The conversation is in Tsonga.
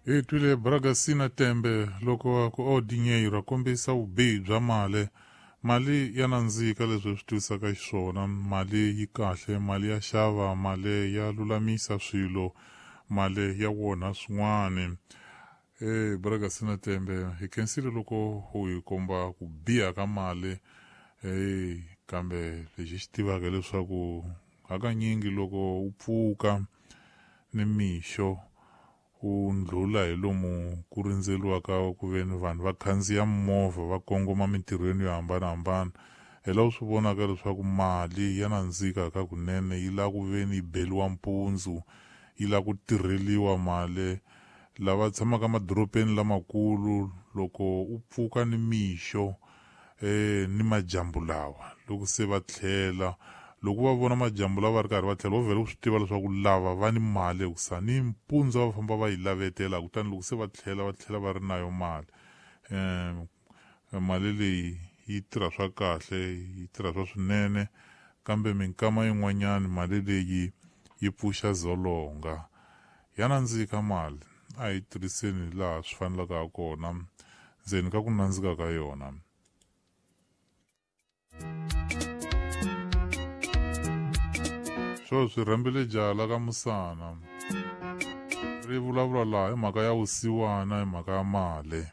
Hi twile Bragasina Tembe loko ku o dinheiro a kombisa vubihi bya mali. Mali ya nandzika leswi hi swi tivisaka xiswona, mali yi kahle, mali ya xava, mali ya lulamisa swilo, mali ya wonha swin'wana. Bragasina Tembe hi khensile loko u hi komba ku biha ka mali. Kambe lexi xi tivaka leswaku hakanyingi loko u pfuka ni mixo u ndlhula hi lomu ku rindzeliwaka ku ve ni vanhu va khandziya movha va kongoma mintirhweni yo hambanahambana, hi laha u swi vonaka leswaku mali ya nandzika ka kunene, yi lava ku ve ni yi beliwa mpundzu, yi lava ku tirheliwa mali. Lava tshamaka emadorobeni lamakulu loko u pfuka ni mixo ni majambu lawa loko se va tlhela, loko va vona majambu lawa va ri karhi va tlhela, va vhela ku swi tiva leswaku lava va ni mali hikusa ni mpundzu va famba va yi lavetela, kutani loko se va tlhela va tlhela va ri na yo mali. Mali leyi yi tirha swa kahle, yi tirha swa swinene, kambe minkama yin'wanyana mali leyi yi pfuxa dzolonga. Ya nandzika mali, a hi tirhiseni laha swi fanelaka ha kona, ndzeni ka ku nandzika ka yona. Swo swi rhambile jaha la ka Musana ri vulavula laha hi mhaka ya vusiwana, hi mhaka ya mali.